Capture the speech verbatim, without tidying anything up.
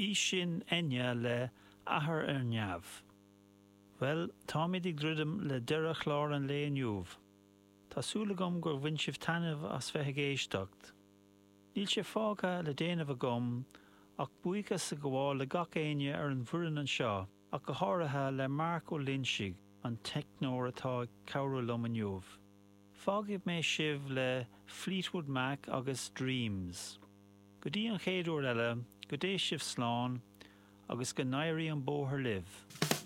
B'í sin Enya le Athair ar Neamh. Bhuel, táimid ag druidim le deireadh chlár an lae inniu. Tá súil agam gur bhain sibh taitneamh as bheith ag éisteacht. Níl sé fágtha le déanamh agam ach buíochas a ghabháil le gach éinne ar an bhfoireann anseo, ach go háirithe le Mark Ó Loinsigh, an teicneoir atá ag cabhrú liom inniu. Fágfaidh mé sibh le Fleetwood Mac agus Dreams. Go dtí an chéad uair eile, go dté sibh slán agus go n-éirí an bóthar libh.